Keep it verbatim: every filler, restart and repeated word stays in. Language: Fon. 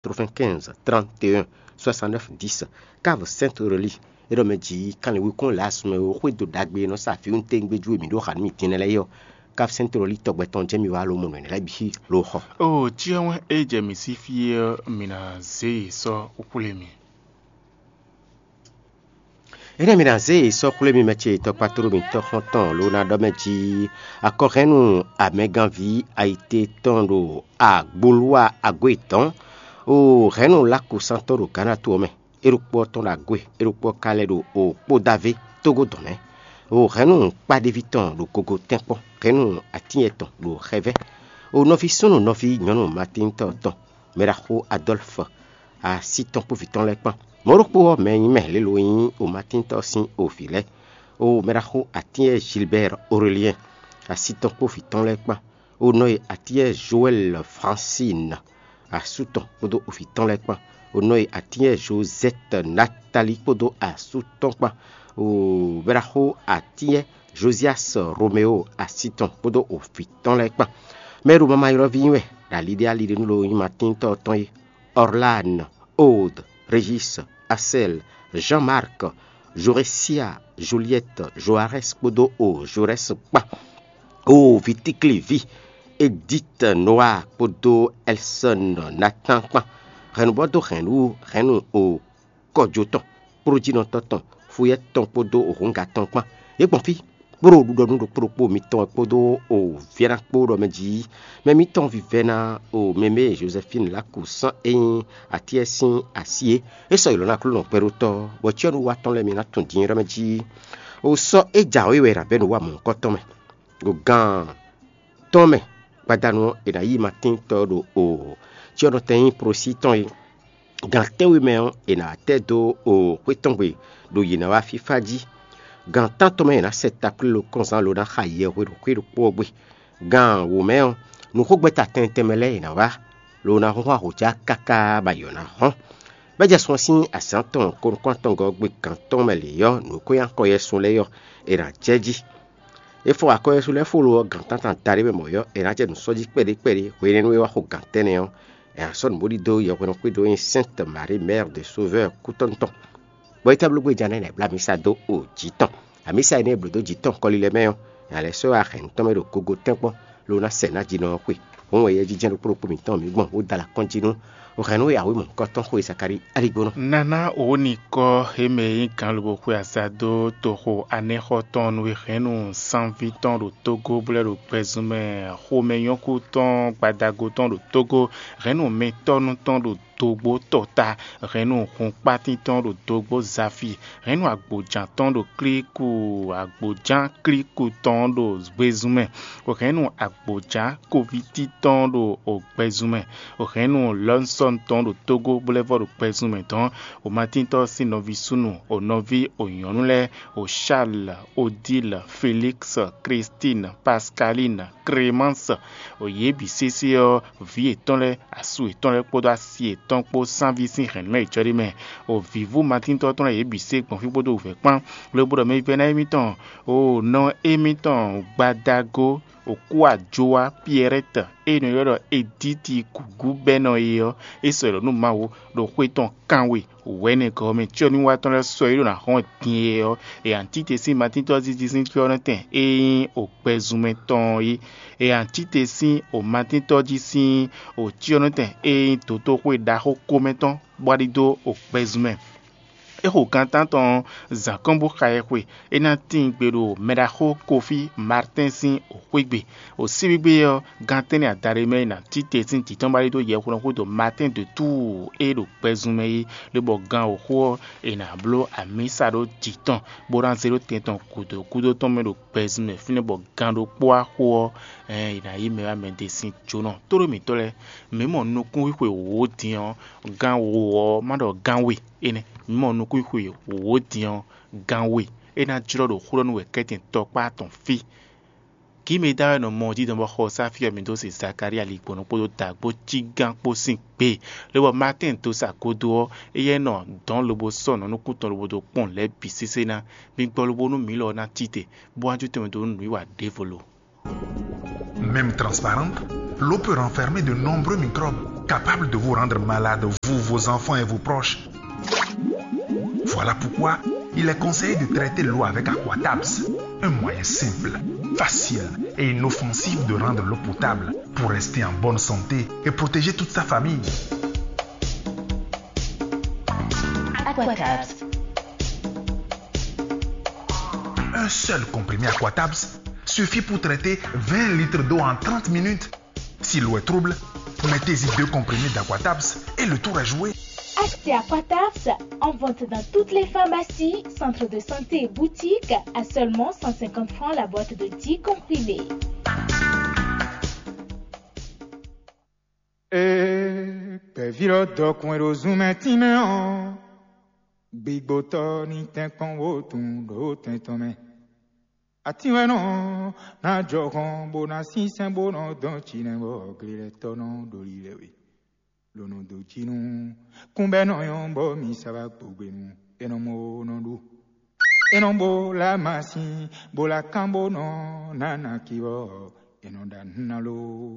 quatre-vingt-quinze, trente et un, soixante-neuf, dix. Cave Sainte Aurélie, é ɖɔ mɛ jí kanlin wekun lɛ́ɛ asú mɛ e xwedó ɖagbe e nɔ sa vǐwuntégbéjú e mǐ ɖó xa nú mì din lɛ́ɛ é ɔ́, Cave Sainte Aurélie tɔgbɛ tɔn jɛ́n mì wá lomɔ̌ nɔ lɛ́ɛ bǐ lo xɔ. Oo, cyɔ wɛn e jɛ mǐ sí fí é ɔ́, mǐ ná zé yě sɔ́ xwlé mì. Énɛ́ mi ná zé yě sɔ́ xwlé mi mɛ ce tɔkpatoro mǐtɔn xɔ́ntɔn ló ná ɖɔ mɛ jí akɔhɛ́nnu amɛganví ayite tɔn ɖo agboluwa agó yětɔn, o hɛ̌nnu lákosán tɔn ɖo Gǎna to ɔ́ mɛ, é ɖokpó ɔ́ tɔn ɖo agó e, é ɖokpó ɔ́ ka lɛ́ ɖo o kpódávé tógó dɔn mɛ, o hɛ̌nnu kpáɖéví tɔn ɖo gogo tɛ́nkpɔ́n, hɛ̌nnu atínyɛ tɔn ɖo xɛvɛ́, o nɔví súnnu nɔví nyɔ̌nu Matíntɔ́ tɔn, mɛɖaxó Adɔ́lfɔ, asi tɔn kpó vǐ tɔn lɛ́ɛ kpán. Mɔ̌ ɖokpó ɔ́, mɛ e nyí mɛ lě lo nyí Omatíntɔ́ sín ovǐ lɛ́ɛ, o mɛɖaxó atínyɛ Gilbɛ́r Oreliɛn, asi tɔn kpó vǐ tɔn lɛ́ɛ kpán, o nɔ e atínyɛ Joɛ́l Fransín, asú tɔn kpódó ovǐ tɔn lɛ́ɛ kpán, o nɔ e atínyɛ Jozɛ́t Natalí kpódó asú tɔn kpán, o mɛɖaxó atínyɛ Jozias Romeo, asi tɔn kpódó ovǐ tɔn lɛ́ɛ kpán. Mɛ e ɖo mamayɔ́ví wɛ ɖo aliɖé aliɖé nú lo nyí Matíntɔ́ tɔn é, Ɔrlán, Od, Régis, Asɛl, Jean-Marc, Jorésia, Juliɛ́t, Joarɛ́s kpódó o Jorɛ́s kpán, o Vitíkliví, Edít, Noa kpódó Ɛlsɔ́n, Natán kpán, hɛ̌nnubɔ́ dó hɛ̌nnu hɛ̌nnu o kɔjó tɔn, kplójínɔtɔ́ tɔn, fuyɛ́ tɔn kpódó hǔnga tɔn kpán. Yě gbɔn fí, kpó ɖo ɖiɖɔ nú ɖokpó ɖokpó mitɔn wɛ kpódó o vǐ ɔ́ ná kpó ɖɔ mɛ jí mɛ mitɔn vívɛ́ ná o mɛmɛ Jozɛfín Láku sán e nyí atíɛ sín así é. É sɔ́ ylɔ̌ ná Aklúnɔ gbɛɖótɔ́, bɔ cyɔ́núwatɔ́ lɛ́ɛ mi ná tunwun din ɖɔ mɛ jí o sɔ́ é jǎwe wɛ è nǎ bɛ́ nǔ wa mɔ̌hunkɔtɔn mɛ. Ɖo gan tɔn mɛ gbadanu ɔ́, è nǎ yí Matín tɔn ɖo o cyɔ́nɔtɛn nyí Prosí tɔn é. Gan tɛ́nwe mɛ ɔ́, è nǎ tɛ́ dó o xwé tɔn gbe ɖo yě ná wá fífá jí. Gan tántɔn mɛ è nǎ sɛ taklílo kɔnzán lo ná xa yɛhwe ɖo xwé ɖokpó ɔ́ gbe. Gan wǒ mɛ ɔ́, nǔxogbɛ́ta tɛntɛn mɛ lɛ́ɛ è nǎ wá, lo ná húnhún ahǒjá káká bɔ ayǐ ɔ́ ná hɔ́n. Bɛ́ jɛ sun ɔ́ sín azǎn tɔn ko nukún-atɔngɔ́ gbe gan tɔn mɛ lě ɔ́, nǔ e ko nyí akɔyɛsun lɛ́ɛ ɔ́, è nǎ jɛ jí. É fɔ akɔ́yɛ́sú lɛ́ɛ fó lo ɔ́ gan tántán daɖé mɛ mɔ̌ ɔ́, è nǎ jɛ nǔ sɔ́ jí kpɛɖé kpɛɖé hwenɛ́nu e wá xo gan tɛ́nnɛ ɔ́, è nǎ sɔ́ nǔ bó ɖidó yɛhweɖɔxwé ɖó nyí Sainte Marie Mère de Sauveur kútɔ́nu tɔn. Bɔ é tɛ́ bló gbéjá nɛ́ nɛ́ bló amisa dó o jǐ tɔn. Amisa énɛ́ e blǒ dó jǐ tɔn kɔlilɛ mɛ ɔ́, è nǎ lɛ́ sɔ́ wá hɛ̌nnu tɔn mɛ ɖo gogo tɛ́nkpɔ́n, lo ná sɛ nǎ jinɔ ɔ́ xwe. Hǔn wɛ yɛjínjɛ́n ɖokpó ɖokpó mǐtɔn mǐ gbɔn bó da alɔ kɔn jí nú hɛ̌nnu e awǐmɔ kɔ́tɔn xwe Zakalíi aligbónɔ. Nana òwò nǐ kɔ émɛ e nyí gǎnlobɔxu e azá dó toxo anɛ́xɔ tɔn nú e hɛ̌nnu sanví tɔn ɖo tógó blɛ́ ɖo gbɛzun mɛ, xomɛnyɔ́kú tɔn gbadago tɔn ɖo tógó, hɛ̌nnu mɛtɔ́nu tɔn ɖo dógbó tɔta, hɛ̌nnu hunkpátín tɔn ɖo dógbó zafi, hɛ̌nnu agbǒján tɔn ɖo klíku, agbǒján klíku tɔn ɖo gbezun mɛ, hɛ̌nnu agbǒján kovíti tɔn ɖo gbɛzun mɛ, hɛ̌nnu lɔnsɔn tɔn ɖo tógó bó lɛ́ vɔ ɖo gbɛzun mɛ dɔn. Omatíntɔ́ sín nɔví súnnu, o nɔví o nyɔ̌nu lɛ́ɛ, o Charles, Odile, Félix, Christine, Pascaline, Clémence, o yě bǐ sésé ɔ́, vǐ yětɔn lɛ́ɛ, asú yětɔn lɛ́ɛ kpódó asi yětɔn kpó sanví sín hɛ̌nnu mɛ yě jɔ ɖ'é mɛ. O vǐvú Matíntɔ́ tɔn lɛ́ɛ yě bǐ sé gbɔn fí kpódó wǔvɛ́ kpán. Lobo ɖɔ mɛ vívɛ́ná émítɔn, o nɔ émítɔn gbadago, o kú ajowa Piɛrɛ́tɛ, ée è nɔ ylɔ́ ɖɔ Edíti gǔgú bɛ́ nɔ é ɔ́, é sɔ́ ylɔ̌ nú Mawu ɖo xwé tɔn kanwe wɛ̌nɛgɔ́ ɔ́ mɛ. Cyɔ́núwatɔ́ lɛ́ɛ sɔ́ é ɖó ná hɔn din é ɔ́, è nǎ tite sín Matíntɔ́ jí sín cyɔ́nɔtɛn e nyí o gbɛzunmɛ tɔn ɔ́ é. È nǎ tite sín o Matíntɔ́ jí sín o cyɔ́nɔtɛn e nyí dotóxwé ɖaxó komɛtɔn bó wá ɖidó o gbɛzunmɛ. É xo gan tántɔn ɔ́, zǎn kɔn bó xa ɛ xwe. É ná tíin gbe ɖo mɛɖaxó Kofí Martɛ́n sín xwé gbe. O síbígbe ɔ́, gan tɛ́nnɛ adaɖé mɛ é nǎ tite sín jǐ tɔn bó wá ɖidó yɛhweɖɔxódo Martɛ́n de Túu e ɖo gbɛzun mɛ é, lobɔ gan wǒxo ɔ́, è nǎ bló amǐsa ɖó jǐ tɔn, bó ná zé ɖó tɛn tɔn gǔdo gúdo tɔn mɛ ɖo gbɛzun mɛ fínɛ́ bɔ gan ɖokpó wá xo ɔ́, è nǎ yí mɛ wá mɛ ɖé sín jónɔ. Tóɖó mǐtɔn lɛ́ɛ, mǐ mɔ nukúnxwixwe wǒ din ɔ́, gan wǒ ɔ́, má ɖɔ gan we énɛ́. Mǐ mɔ nukúnxwixwe wǒ din ɔ́, gan we. É ná jlɔ́ ɖo xó ɖɔ nú wɛ kɛ́tɛn tɔkpá tɔn fí. Gǐ mɛ e dá wɛ nɔ mɔ ɔ́ jí dɔn bɔ xɔ ɔ́ sá fí ɔ́, mǐ dó se Zakalía ligbɔ̌nɔ kpódó dǎgbó cí gán kpó sín gbe. Lobɔ Maatɛ́n dó sa godo ɔ́, éyɛ́ nɔ dɔ̌n lobo sɔ́ nɔ nukúntɔn lobo dó kpɔ́n lɛ̌ bǐ sésé ná. Mi gbɔ lobo nú mǐ lɔ ɔ́ ná cí te, bó wá jó tɛnmɛ dó nǔwiwa ɖěvo lo. Même transparente, l'eau peut renfermer de nombreux microbes. capable de vous rendre malade, vous, vos enfants et vos proches. Voilà pourquoi il est conseillé de traiter l'eau avec Aquatabs, un moyen simple, facile et inoffensif de rendre l'eau potable pour rester en bonne santé et protéger toute sa famille. Aquatabs. Un seul comprimé Aquatabs suffit pour traiter vingt litres d'eau en trente minutes. Si l'eau est trouble, mettez-y deux comprimés d'Aquatabs et le tour est joué. Achetez Aquatabs en vente dans toutes les pharmacies, centres de santé et boutiques à seulement cent cinquante francs la boîte de dix comprimés. Ee, gbɛ̌ví lɔ dɔkun e ɖo zunmɛ tínmɛ ɔ́, gbigbotɔ́ ní tɛ́nkpɔ́n wó tunwun ɖó tɛn tɔn mɛ. Atín wɛ nɔ ná jɔ hɔn bó ná sínsɛ́n bó nɔ dɔn cinɛ bɔ glilɛtɔ́ nɔ ɖo lilɛ we. Lǒ nɔ dó jí nú kúnbɛ́ nɔ nyɔ́ bɔ mi sa wá gbogbe nu é nɔ mɔ ó nɔ ɖu. É nɔ bó lá masin bó lá kán bó nɔ ná ná ki bɔ è nɔ ɖa nǔ ná ló.